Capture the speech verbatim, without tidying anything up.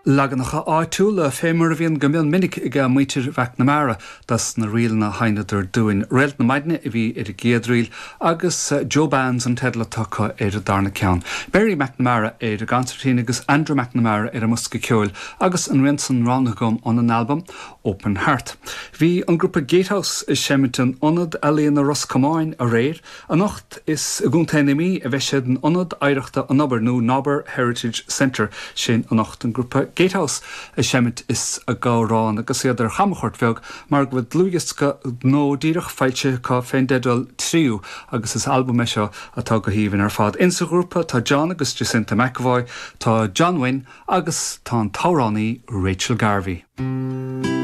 Leaganacha áitiúla fé mar a bhíonn go mion minic ag muintir McNamara das na ríleanna a sheinneadar dúinn. Réalt na Maidne a bhí ar an gcéad ríl agus Joe Bands an teideal atá ar an darna ceann. Barry McNamara ar an gconsairtín agus Andrew McNamara ar an mbosca ceoil agus an rian san roghnaithe agam ón albam Open Heart. Bhí an grúpa Gatehouse ag seimint in Ionad Ealaíon Ros Comáin aréir, anocht is i gContae na Mí a bheidh siad in Ionad Oidhreachta an Obair nó Nobber Heritage Centre sin anocht an grúpa Gatehouse ag seimint is ag amhrán agus iad ar chamchuairt bheag mar go bhfuil dlúthdhiosca nua díreach foilsithe acu fén dteideal Tríú agus is albam é seo atá go haoibhinn ar fad. Insa ghrúpa tá John agus Jacinta McAvoy, tá John Wynne agus tá an t-amhránaí Rachel Garvey.